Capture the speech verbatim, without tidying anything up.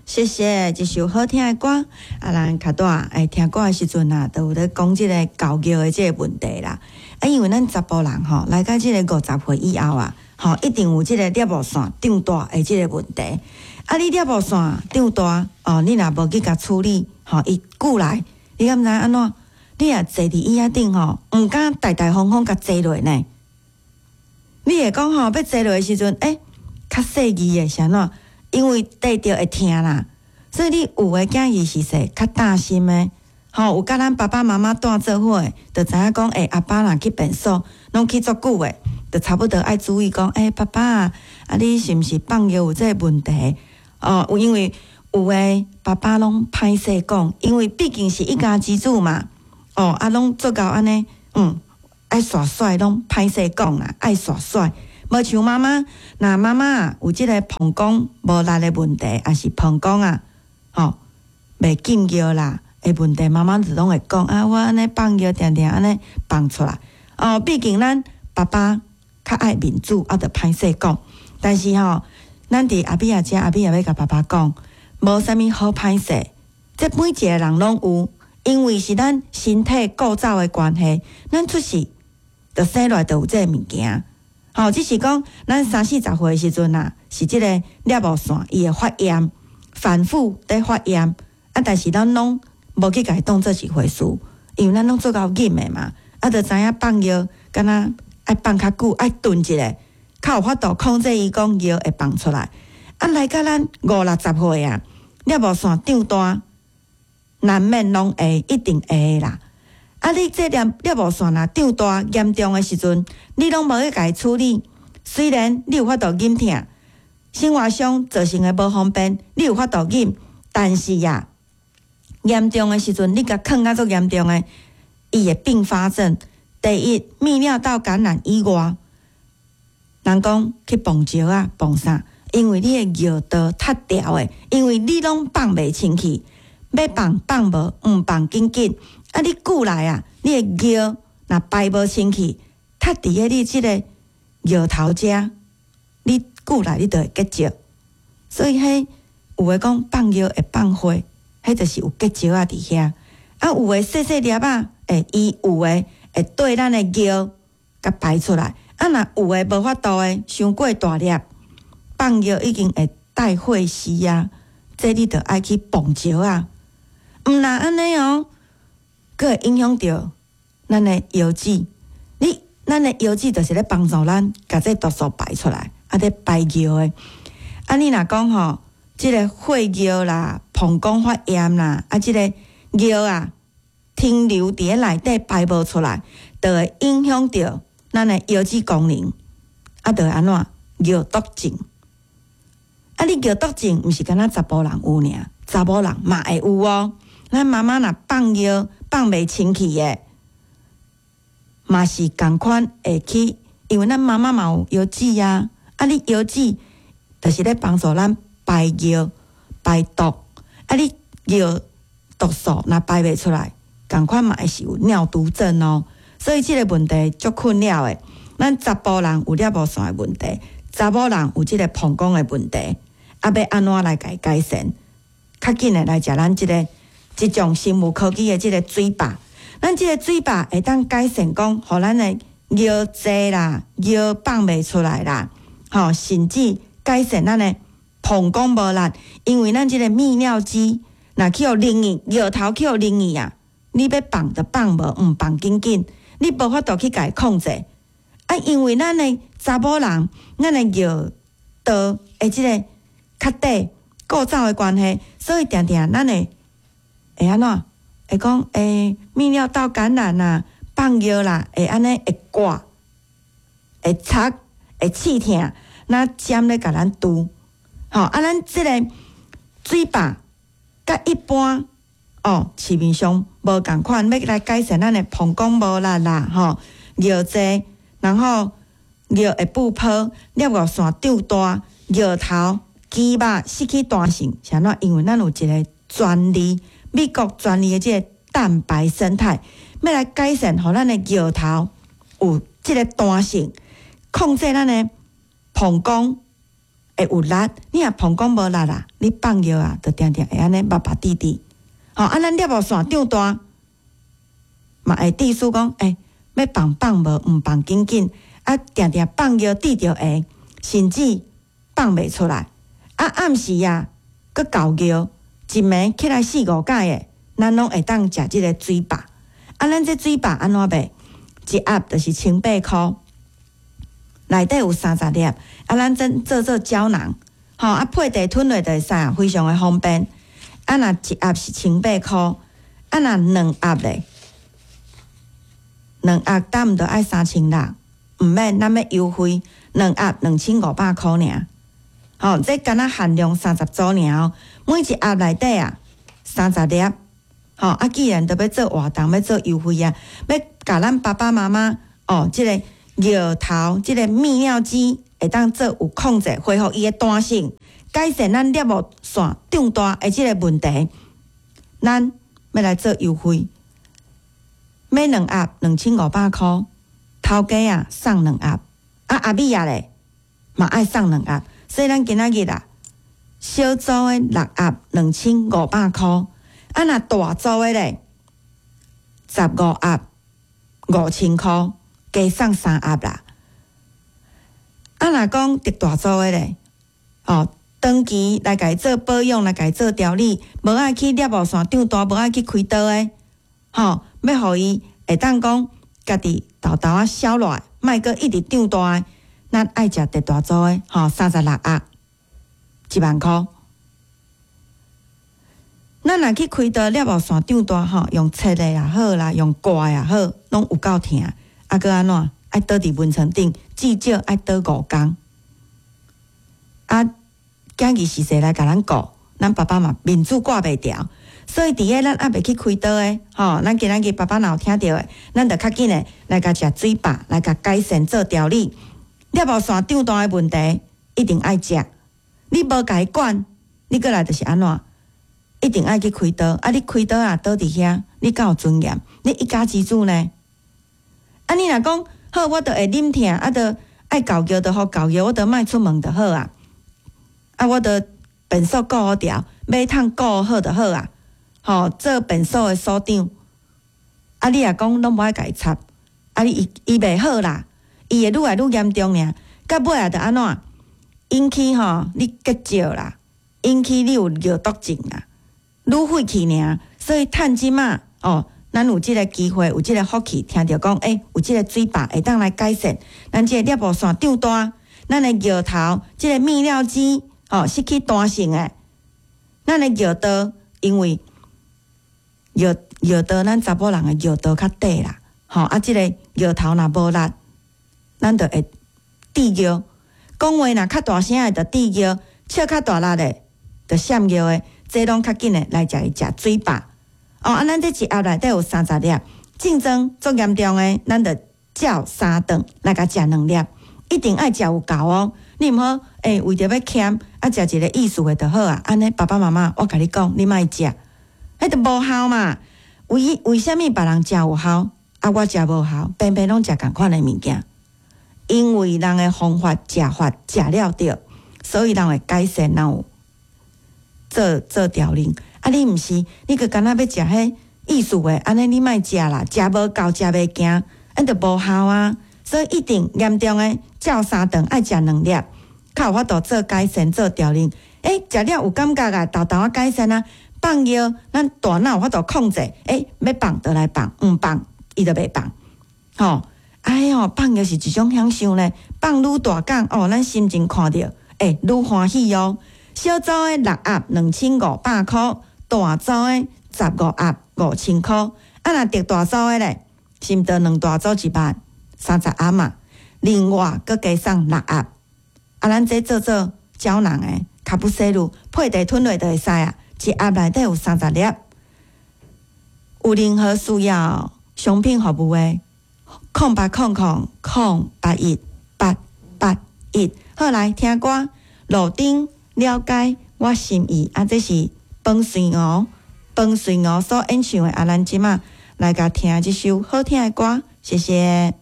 謝謝，一首好聽的歌。啊，咱較大會聽歌的時陣啊，都有咧講這个猴尿的這个問題啦。啊，因為咱查埔人吼，來到這个五十歲以後啊，吼，一定有這个尿道腺長大的這个問題。啊，你尿道腺長大哦，你若無去共處理，吼，伊久來，你敢知按怎？你若坐佇椅仔頂吼，毋敢大大方方共坐落呢。你會講吼，欲坐落的時陣，欸，較細膩的是按怎？因為綴著會疼啦，所以你有的囝兒是說較擔心的，吼，有佮咱爸爸媽媽蹛做伙的，就知影講，欸，阿爸若去便所，攏去足久的，就差不多愛注意講，欸，爸爸啊，你是毋是放尿有這个問題？哦，因為有的爸爸攏歹勢講，因為畢竟是一家之主嘛，哦，啊，攏做到按呢，嗯，愛耍帥攏歹勢講啦，愛耍帥。無像媽媽，若媽媽有這个膀胱無力的問題，抑是膀胱啊，吼，袂禁尿啦的問題，媽媽就攏會講啊，我按呢放尿定定按呢放出來。哦，畢竟咱爸爸較愛面子，啊，就歹勢講。但是吼，咱佇阿比亞遮，阿比亞欲共爸爸講，無啥物好歹勢，這每一个人攏有，因為是咱身體構造的關係，咱出世就生落來就有這个物件。吼，只是講咱三四十歲的時陣啊，是這个尿道腺伊會發炎，反覆佇發炎。啊，但是咱攏無去共伊當做一回事，因為咱攏足𠢕忍的嘛。啊，就知影放尿，敢若愛放較久，愛頓一下，較有法度控制伊講尿會放出來。啊，來到咱五六十歲啊，尿道腺長大，難免攏會，一定會啦。啊！你這粒尿道腺若長大嚴重的時陣，你攏無去共伊處理。雖然你有法度忍疼，生活上造成的無方便，你有法度忍，但是呀，嚴重的時陣，你共囥甲足嚴重的，伊會併發症。第一，泌尿道感染以外，人講去磅石仔，磅啥？因為你的尿道塞牢的，因為你攏放袂清氣，欲放放無，毋放緊緊。啊！你久來啊，你的尿若排無清氣，塞佇咧你這个尿頭遮，你久來你就會結石。所以，彼有的講放尿會放血，彼就是有結石仔佇遐。啊，有的細細粒仔，會伊有的會對咱的尿共排出來。啊，若有的無法度的，傷過大粒，放尿已經會帶血絲啊，這你就愛去磅石仔。毋若按呢哦。閣會影響著咱的腰子，你咱的腰子就是咧幫助咱共這毒素排出來，啊，咧排尿的。啊，你若講吼，這个血尿啦、膀胱發炎啦，啊，這个尿啊停留佇咧內底排無出來，就會影響著咱的腰子功能，啊，就會按怎尿毒症。啊，你尿毒症毋是干焦查埔人有爾，查某人嘛會有哦。咱媽媽若放尿放袂清氣的，嘛是仝款會去，因為咱媽媽嘛有腰子啊。啊，你腰子就是咧幫助咱排尿、排毒。啊，你尿毒素若排袂出來，仝款嘛會是有尿毒症哦。所以這个問題足困擾的。咱查埔人有尿道腺的問題，查某人有這个膀胱的問題，啊，欲按怎來共伊改善？較緊的來食咱這个。這種生物科技的這个水壩，咱這个水壩會當改善講，予咱的尿濟啦、尿放袂出來啦，吼，甚至改善咱的膀胱無力，因為咱這個泌尿肌若去予冷去，尿頭去予冷去啊，你欲放就放無，毋放緊緊，你無法度去共伊控制。啊，因為咱的查某人，咱的尿道的這个較短構造的關係，所以定定咱的。會按怎？會講欸，泌尿道感染啦，放尿啦，會按呢會割，會插，會刺疼，若針咧共咱揬。吼，啊，咱這个水壩佮一般哦，市面上無仝款，欲來改善咱的膀胱無力啦，吼，尿濟，然後尿會布泡，尿道腺長大，尿頭肌肉失去彈性，是按怎？因為咱有一个專利。美國專利的這个蛋白胜肽，欲來改善，予咱的尿頭有這个彈性，控制咱的膀胱會有力。你若膀胱無力啦，你放尿啊，就定定會按呢密密滴滴。吼，啊，咱尿道腺長大，嘛會致使講，欸，欲放放無，毋放緊緊，啊，定定放尿滴著下，甚至放袂出來。啊，暗時啊，閣猴尿，一暝起來四五擺的，咱攏會當食這个水飽。啊，咱這水飽按怎賣？一盒就是千八箍，內底有三十粒。啊，咱真做做膠囊，吼，啊，配茶吞落就會使啊，非常的方便。啊，若一盒是千八箍，啊，若兩盒咧，兩盒敢毋著愛三千六，毋免，咱欲優惠，兩盒兩千五百箍爾。吼，這敢若限量三十組爾哦，每一盒內底啊三十粒。吼，啊，既然都欲做活動，欲做優惠啊，欲共咱爸爸媽媽哦，這个尿頭，這个泌尿肌會當做有控制，恢復伊的彈性，改善咱尿道腺長大的這个問題，咱欲來做優惠，買兩盒兩千五百箍，頭家啊送兩盒，啊阿米仔咧嘛愛送兩盒，所以咱今仔日啊，小組的六盒兩千五百箍。啊，若大組的咧，十五盒五千箍，加送三盒啦。啊，若講特大組的咧，哦，長期來共伊做保養，來共伊做調理，無愛去尿道腺長大，無愛去開刀的，吼，欲予伊會當講家己沓沓仔消落來，莫閣一直長大的，咱愛食特大組的，吼，三十六盒，一萬箍。咱若去開刀尿道腺長大吼，用切的也好啦，用割的也好，攏有夠疼。啊，閣按怎？愛倒佇眠床頂，至少愛倒五工。啊，囝兒時勢來共咱顧，咱爸爸嘛面子掛袂牢，所以佇咧咱猶未去開刀的，吼，咱今仔日爸爸若有聽著的，咱就較緊的來共食水飽，來共改善做調理。尿道腺長大的問題，一定愛食。你無共伊管，你閣來就是按怎？一定愛去開刀。啊，你開刀啊，倒佇遐，你敢有尊嚴？你一家之主呢？啊，你若講好，我著會忍疼，啊，著愛猴尿就予猴尿，我著莫出門就好啊。啊，我著便所顧好牢，馬桶顧好就好啊。吼，做便所的所長。啊，你若講攏無愛共伊插，啊，你伊伊袂好啦，伊會愈來愈嚴重爾。到尾啊，著按怎？引起吼你結石啦，引起你有尿毒症啦，愈廢去爾。所以趁這馬哦，咱有這个機會，有這个福氣，聽著講，欸，有這个水飽會當來改善咱這个尿道腺長大，咱的尿頭，這个泌尿肌吼失去彈性的，咱的尿道，因為尿尿道咱查某人的尿道較短啦，吼啊，這个尿頭若無力，咱就會滴尿。講話若較大聲的就滴尿，笑較大力的就閃尿的，這攏較緊的來食伊食水飽。哦，啊，咱這一盒內底有三十粒，症狀足嚴重的，咱就照三頓來共食兩粒，一定愛食有夠哦。你毋好，欸，為著欲儉，啊，食一个意思的就好啊。按呢，爸爸媽媽，我共你講，你莫食，彼就無效嘛。為為啥物別人食有效，啊，我食無效，偏偏攏食仝款的物件？因為人的方法食法食了對，所以人會改善，人有做做調整。啊，你毋是，你閣敢若欲食彼意思的，按呢你莫食啦，食無夠，食袂行，按就無效啊。所以一定嚴重的，照三頓愛食兩粒，較有法度做改善、做調整。欸，食了有感覺啊，沓沓仔改善啊，放尿，咱大腦有法度控制，欸，欲放就來放，毋放伊就袂放，吼。哎喲，放尿是一種享受呢，放愈大工哦，咱心情看著，欸，愈歡喜哦。小組的六盒兩千五百箍，大組的十五盒五千箍。啊，若特大組的咧，是毋著兩大組一萬三十盒嘛？另外閣加送六盒。啊，咱這做做膠囊的，卡布西魯配茶吞落就會使啊，一盒內底有三十粒。有任何需要商品服務的，空八空空空八一八八一，好，來聽歌，路燈了解我心意，啊，這是彭瑞娥，彭瑞娥所演唱的，啊，咱這馬來共聽這首好聽的歌，謝謝。